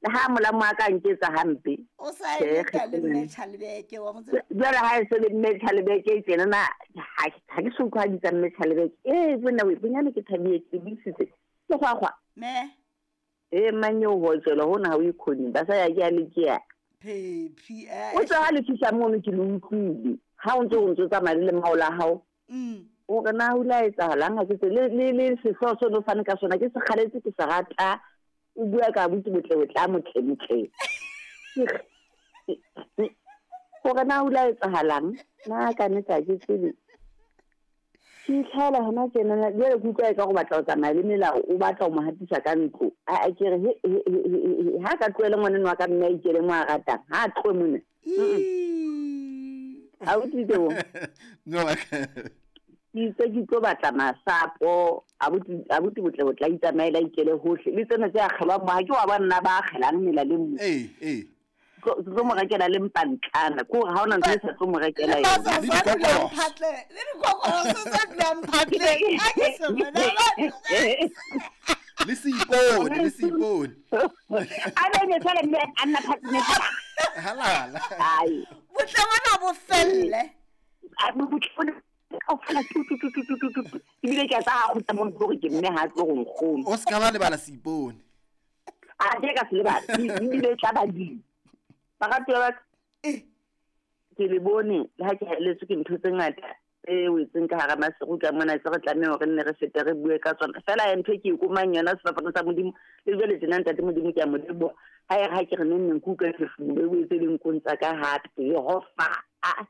Le ha molamo a ka nketsa hampe. O sa e leta le mme Chalebeke wa mo tseba. Jwale ha e se le mme Chalebeke e tjena na ha ke so utlwa bitsa mme Chalebeke. Eh bona we bonyane ke thabile ke buisitse. Ke gwagwa. Me. Eh mang eo ho tswela hona ha o ikhoni ba sa ya ke a le ke ya. Phephi eh. O tswa ha le fihla mono ke le utlwile. Ha o ntse o ntse tsamaya le lemao la hao. O re na o la etsahalang ha ke tse le le le sehlooho se no fane ka sona ke se kgaletse ke se rata. O bua ka botse botle botla motle motle. Gore na o la etsahalang na ka nnete ha ke tsebe. Ke itlhaela hona tjena jwale ke utlwa e ka go batla ho tsamaya le melao o batla ho mo hatisa ka ntlo. A ke re ha ka tlohele ngwaneno wa ka mme a ikele mo a ratang ha a tlohe mona. Ha o tlile bo. No. Ke itse ke tlo batla masapo abuti botle botla itsamaela ikele hohle le tsena tse akgelwang mo ha ke wa ba nna ba akgelang mela le mo. Ee. Ke tlo mo rekela le mpantlana ke hore ha ona ntho e sa tlo mo rekela yona. Le dikokoloso tse dulang phatleng. A ke se bona. Le seipone, le seipone. A be ne fela mme a nna phatleng. Halala. Ai. Botle bona bo felle. A botle bona kaofela tu tu tu tu tu tu tu. Ebile ke a tsa ha kgutla mo gore ke mme ha tlo go nkgoma. O se ka ba lebala seipone. A ke ka se lebala. Ebile e tla ba di. Baratuwa ba ka. Ke le bone le ha ke haelletswe ke ntho tse ngata tse wetseng ka hara masiru ka mona tse re tlameha hore nne re fete re bue ka tsona. Fela ya ntho e ke e komang yona sefapano sa Modimo le jwale tjena ntate Modimo ke a mo leboha. Ha e re ha ke re neng neng ke utlwa phefumolo e boetse le nkong tsa ka hape Jehova. A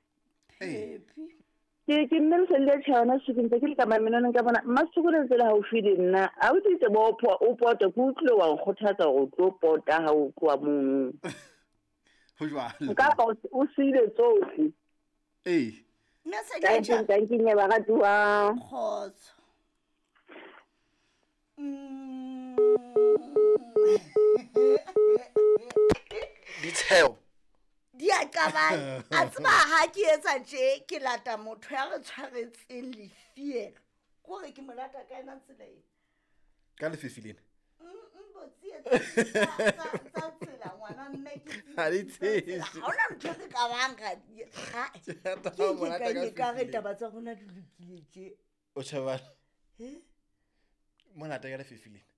Ke ke mme le le tjhe yona suku ntse ke le ka mamenoneng ka bona Mmasuku le ntse le haufi le nna. A o itse bo o pota ke utlwile wa nkgothatsa hore o tlo pota ha o tloha mono. Ho jwalo. Kapa o siile tsohle. Ee. Mme se Tanking, tanking ya baratuwa. Kgotso. Ditsheo. Di a qabana. A tseba ha ke etsa tje ke lata motho ya re tshwaretseng lefielo. Kore ke mo lata ka ena tsela ena. Ka lefifi lena. Tsa tsela ngwana mme ke Ha di tsejwe. Ha hona ntho e ka bang ga di. Ha. Ke ka re taba tsa rona di lokile tje. O tjhebana. Mo lata ka lefifi lena.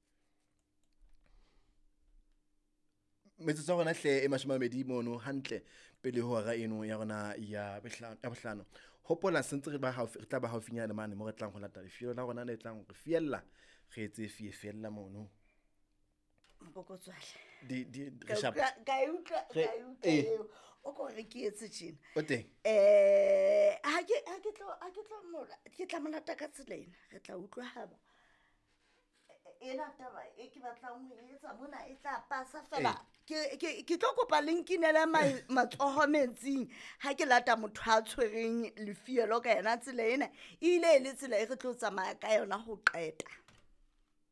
Metsotso ya rona hle e 20 mono hantle pele ho hora eno ya rona ya bohlano. Hopola sentse re ba haufi, re tla ba haufinyane mane mo re tlang ho lata lefielo la rona le tlang re fiella, re etse fie fiella mono. Mpokotswale. Di di re shapa. Ka e utlwa ka e utlwa eo. O ko re ke etse tjena. O teng. Ha ke tlo mola, ke tla molata ka tsela ena. Re tla utlwa haba. Ena taba e ke batlang ho etsa mona e tla pasa fela. Ke tlo kopa le nkinele matsoho metsing ha ke lata motho a tshwereng lefielo ka yona tsela ena. E ile e le tsela e re tlo tsamaya ka yona ho qeta.